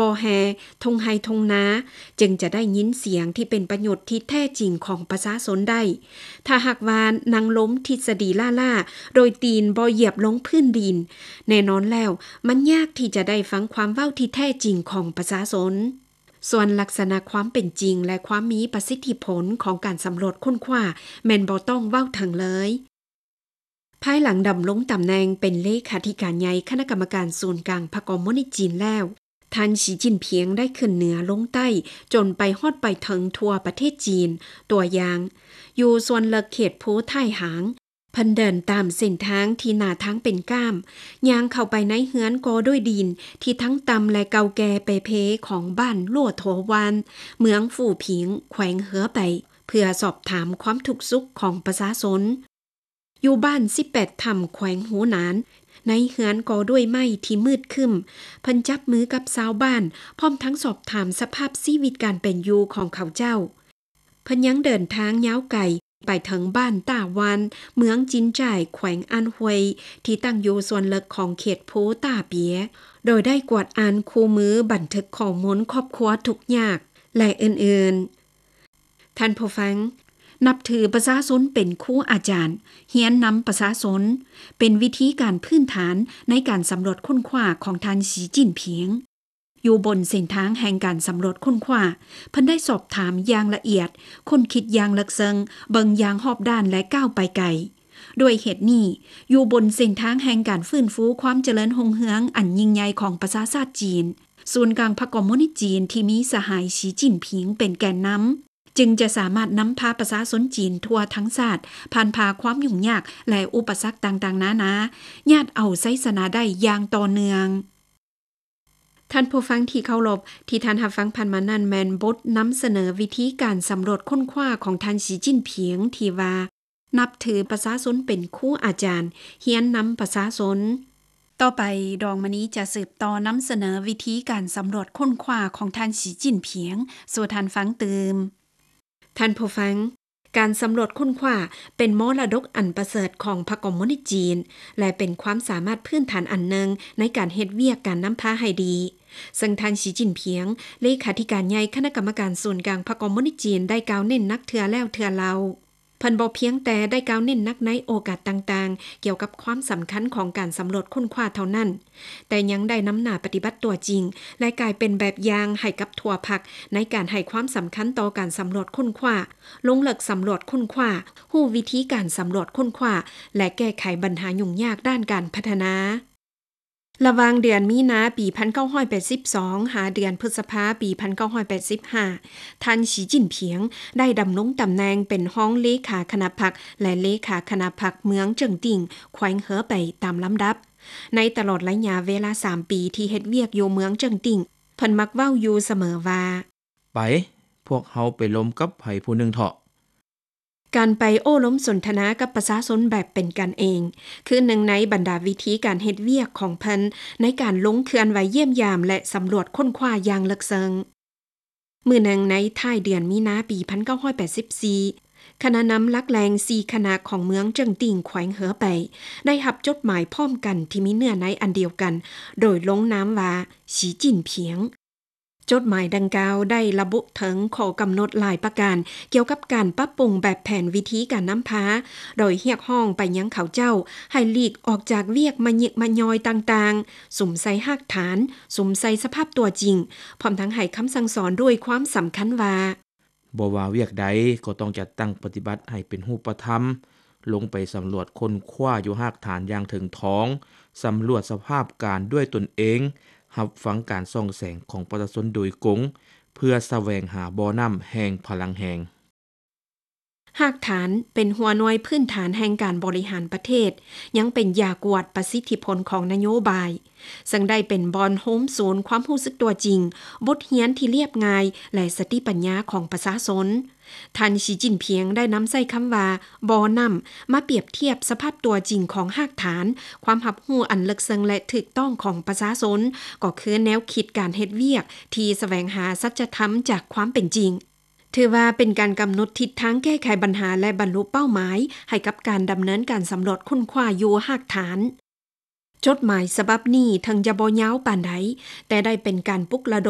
ບໍ່ແຮ່ ທົ່ງໄຮ່ທົ່ງນາ ຈຶ່ງຈະໄດ້ຍິນສຽງທີ່ເປັນປະໂຫຍດທີ່ແທ້ຈິງຂອງປະຊາຊົນໄດ້. ຖ້າຫາກວ່ານັ່ງລົມທິດສະດີລ້າໆ ໂດຍຕີນບໍ່ຢຽບລົງພື້ນດິນ, ແນ່ນອນແລ້ວ ມັນຍາກທີ່ຈະໄດ້ຟັງຄວາມເວົ້າທີ່ແທ້ຈິງຂອງປະຊາຊົນ. ສ່ວນລັກສະນະຄວາມເປັນຈິງ ແລະ ຄວາມມີປະສິດທິຜົນຂອງການສຳຫຼວດຄົ້ນຄວ້າ ແມ່ນບໍ່ຕ້ອງເວົ້າເຖິງເລີຍ. ພາຍຫຼັງດຳລົງຕຳແໜ່ງເປັນເລຂາທິການໃຫຍ່ຄະນະກຳມະການສູນກາງພັກຄອມມູນິດຈີນແລ້ວ, ທ່ານ ສີຈິ້ນຜິງ ໄດ້ຂຶ້ນເໜືອລົງໃຕ້ ຈົນໄປຮອດໄປເຖິງທົ່ວປະເທດຈີນ. ຕົວຢ່າງ, ຢູ່ສ່ວນເລິກເຂດພູທ້າຍຫາງ, ເພິ່ນເດີນຕາມເສັ້ນທາງທີ່ໜ້າທາງເປັນກ້າມ, ຍ່າງເຂົ້າໄປໃນເຮືອນກໍ່ດ້ວຍດິນທີ່ທັງຕ່ຳ ແລະ ເກົ່າແກ່ເປ່ເພຂອງບ້ານຫຼວໂຖວານ, ເມືອງຟູຜິງ, ແຂວງເຮືອໄປ, ເພື່ອສອບຖາມຄວາມທຸກສຸກຂອງປະຊາຊົນ. ຢູ່ບ້ານສິບແປດຖ້ຳ ແຂວງຫູໜານ, ໃນເຮືອນກໍ່ດ້ວຍໄມ້ທີ່ມືດຄຶ້ມ, ເພິ່ນຈັບມືກັບຊາວບ້ານ ພ້ອມທັງສອບຖາມສະພາບຊີວິດການເປັນຢູ່ຂອງເຂົາເຈົ້າ. ເພິ່ນຍັງເດີນທາງຍາວໄກໄປເຖິງບ້ານຕ້າວານ, ເມືອງຈິນຈ່າຍ, ແຂວງອານຮວຍ, ທີ່ຕັ້ງຢູ່ສ່ວນເລິກຂອງເຂດພູຕ້າເປຍ, ໂດຍໄດ້ກວດອ່ານຄູ່ມືບັນທຶກຂໍ້ມູນຄອບຄົວທຸກຍາກ ແລະ ອື່ນໆ. ທ່ານຜູ້ຟັງ, ນັບຖືປະຊາຊົນເປັນຄູອາຈານ, ຮຽນນຳປະຊາຊົນ, ເປັນວິທີການພື້ນຖານໃນການສຳຫຼວດຄົ້ນຄວ້າຂອງທ່ານ ສີຈິ້ນຜິງ. ຢູ່ບົນເສັ້ນທາງແຫ່ງການສຳຫຼວດຄົ້ນຄວ້າ, ເພິ່ນໄດ້ສອບຖາມຢ່າງລະອຽດ, ຄົ້ນຄິດຢ່າງເລິກເຊິ່ງ, ເບິ່ງຢ່າງຮອບດ້ານ ແລະ ກ້າວໄປໄກ. ດ້ວຍເຫດນີ້, ຢູ່ບົນເສັ້ນທາງແຫ່ງການຟື້ນຟູຄວາມຈະເລີນຮຸ່ງເຮືອງອັນຍິ່ງໃຫຍ່ຂອງປະຊາຊາດຈີນ, ສູນກາງພັກຄອມມູນິດຈີນທີ່ມີສະຫາຍ ສີຈິ້ນຜິງ ເປັນແກນນຳ, ຈຶ່ງຈະສາມາດນຳພາປະຊາຊົນຈີນທົ່ວທັງຊາດ ຜ່ານຜ່າຄວາມຫຍຸ້ງຍາກ ແລະ ອຸປະສັກຕ່າງໆນານາ, ຍາດເອົາໄຊຊະນະໄດ້ຢ່າງຕໍ່ເນື່ອງ. ທ່ານຜູ້ຟັງທີ່ເຄົາລົບ, ທີ່ທ່ານຮັບຟັງຜ່ານມານັ້ນແມ່ນບົດນຳສະເໜີວິທີການສຳຫຼວດຄົ້ນຄວ້າຂອງທ່ານ ສີຈິ້ນຜິງ ທີ່ວ່າ ນັບຖືປະຊາຊົນເປັນຄູອາຈານ, ຮຽນນຳປະຊາຊົນ. ຕໍ່ໄປ, ດອງມະນີຈະສືບຕໍ່ນຳສະເໜີວິທີການສຳຫຼວດຄົ້ນຄວ້າຂອງທ່ານ ສີຈິ້ນຜິງ ສູ່ທ່ານຟັງຕື່ມ. ທ່ານຜູ້ຟັງ, ການສຳຫຼວດຄົ້ນຄວ້າເປັນມໍລະດົກອັນປະເສີດຂອງພັກຄອມມູນິດຈີນ ແລະ ເປັນຄວາມສາມາດພື້ນຖານອັນໜຶ່ງໃນການເຮັດວຽກການນຳພາໃຫ້ດີ, ເຊິ່ງທ່ານ ສີຈິ້ນຜິງ ເລຂາທິການໃຫຍ່ຄະນະກຳມະການສູນກາງພັກຄອມມູນິດຈີນ ໄດ້ກ່າວເນັ້ນໜັກເທື່ອແລ້ວເທື່ອເລົ່າ. ເພິ່ນບໍ່ພຽງແຕ່ໄດ້ກ່າວເນັ້ນໜັກໃນໂອກາດຕ່າງໆ ກ່ຽວກັບຄວາມສຳຄັນຂອງການສຳຫຼວດຄົ້ນຄວ້າເທົ່ານັ້ນ, ແຕ່ຍັງໄດ້ນຳໜ້າປະຕິບັດຕົວຈິງ ແລະ ກາຍເປັນແບບຢ່າງໃຫ້ກັບທົ່ວພັກໃນການໃຫ້ຄວາມສຳຄັນຕໍ່ການສຳຫຼວດຄົ້ນຄວ້າ, ລົງເລິກສຳຫຼວດຄົ້ນຄວ້າ, ຮູ້ວິທີການສຳຫຼວດຄົ້ນຄວ້າ ແລະ ແກ້ໄຂບັນຫາຫຍຸ້ງຍາກດ້ານການພັດທະນາ. ລະຫວ່າງເດືອນມີນາປີພັນເກົ້າຮ້ອຍແປດສິບສອງ ຫາເດືອນພຶດສະພາປີພັນເກົ້າຮ້ອຍແປດສິບຫ້າ, ທ່ານ ສີຈິ້ນຜິງ ໄດ້ດຳລົງຕຳແໜ່ງເປັນຮອງເລຂາຄະນະພັກ ແລະ ເລຂາຄະນະພັກເມືອງເຈິງຕິ່ງ ແຂວງເຮີໄປຕາມລຳດັບ. ໃນຕະຫຼອດໄລຍະເວລາສາມປີທີ່ເຮັດວຽກຢູ່ເມືອງເຈິງຕິ່ງ, ເພິ່ນມັກເວົ້າຢູ່ສະເໝີວ່າ, ໄປ, ພວກເຮົາໄປລົມກັບໃຜຜູ້ໜຶ່ງເຖາະ. ການໄປໂອ້ລົມສົນທະນາກັບປະຊາຊົນແບບເປັນກັນເອງ ຄືໜຶ່ງໃນບັນດາວິທີການເຮັດວຽກຂອງເພິ່ນ ໃນການລົງເຄື່ອນໄຫວຢ້ຽມຢາມ ແລະ ສຳຫຼວດຄົ້ນຄວ້າຢ່າງເລິກເຊິ່ງ. ມື້ໜຶ່ງໃນທ້າຍເດືອນມີນາປີພັນເກົ້າຮ້ອຍແປດສິບສີ່, ຄະນະນຳຫຼັກແຫຼ່ງສີ່ຄະນະຂອງເມືອງເຈິງຕິ່ງ ແຂວງເຮີໄປ ໄດ້ຮັບຈົດໝາຍພ້ອມກັນທີ່ມີເນື້ອໃນອັນດຽວກັນ ໂດຍລົງນາມວ່າ ສີຈິ້ນຜິງ. ຈົດໝາຍດັ່ງກ່າວໄດ້ລະບຸເຖິງຂໍ້ກຳນົດຫຼາຍປະການກ່ຽວກັບການປັບປຸງແບບແຜນວິທີການນຳພາ, ໂດຍຮຽກຮ້ອງໄປຍັງເຂົາເຈົ້າໃຫ້ຫຼີກອອກຈາກວຽກມະຍິກມະຍ້ອຍຕ່າງໆ, ສຸມໃສ່ຮາກຖານ, ສຸມໃສ່ສະພາບຕົວຈິງ, ພ້ອມທັງໃຫ້ຄຳສັ່ງສອນດ້ວຍຄວາມສຳຄັນວ່າ, ບໍ່ວ່າວຽກໃດກໍຕ້ອງຈັດຕັ້ງປະຕິບັດໃຫ້ເປັນຮູບປະທຳ, ລົງໄປສຳຫຼວດຄົ້ນຄວ້າຢູ່ຮາກຖານຢ່າງເຖິງຖອງ, ສຳຫຼວດສະພາບການດ້ວຍຕົນເອງ, ຮັບຟັງການສ່ອງແສງຂອງປະຊາຊົນໂດຍກົງ, ເພື່ອສະແຫວງຫາບໍ່ນ້ຳແຫ່ງພະລັງແຮງ. ຮາກຖານເປັນຫົວໜ່ວຍພື້ນຖານແຫ່ງການບໍລິຫານປະເທດ, ຍັງເປັນຢາກວດປະສິດທິຜົນຂອງນະໂຍບາຍ, ເຊິ່ງໄດ້ເປັນບ່ອນໂຮມສູນຄວາມຮູ້ສຶກຕົວຈິງ, ບົດຮຽນທີ່ລຽບງ່າຍ ແລະ ສະຕິປັນຍາຂອງປະຊາຊົນ. ທ່ານ ສີຈິ້ນຜິງ ໄດ້ນຳໃຊ້ຄຳວ່າ ບໍ່ນ້ຳ ມາປຽບທຽບສະພາບຕົວຈິງຂອງຮາກຖານ, ຄວາມຮັບຮູ້ອັນເລິກເຊິ່ງ ແລະ ຖືກຕ້ອງຂອງປະຊາຊົນ, ກໍຄືແນວຄິດການເຮັດວຽກທີ່ສະແຫວງຫາສັດຈະທຳຈາກຄວາມເປັນຈິງ. ຖືວ່າເປັນການກຳນົດທິດທາງແກ້ໄຂບັນຫາ ແລະ ບັນລຸເປົ້າໝາຍໃຫ້ກັບການດຳເນີນການສຳຫຼວດຄົ້ນຄວ້າຢູ່ຮາກຖານ. ຈົດໝາຍສະບັບນີ້ເຖິງຈະບໍ່ຍາວປານໃດ, ແຕ່ໄດ້ເປັນການປຸກລະດົມ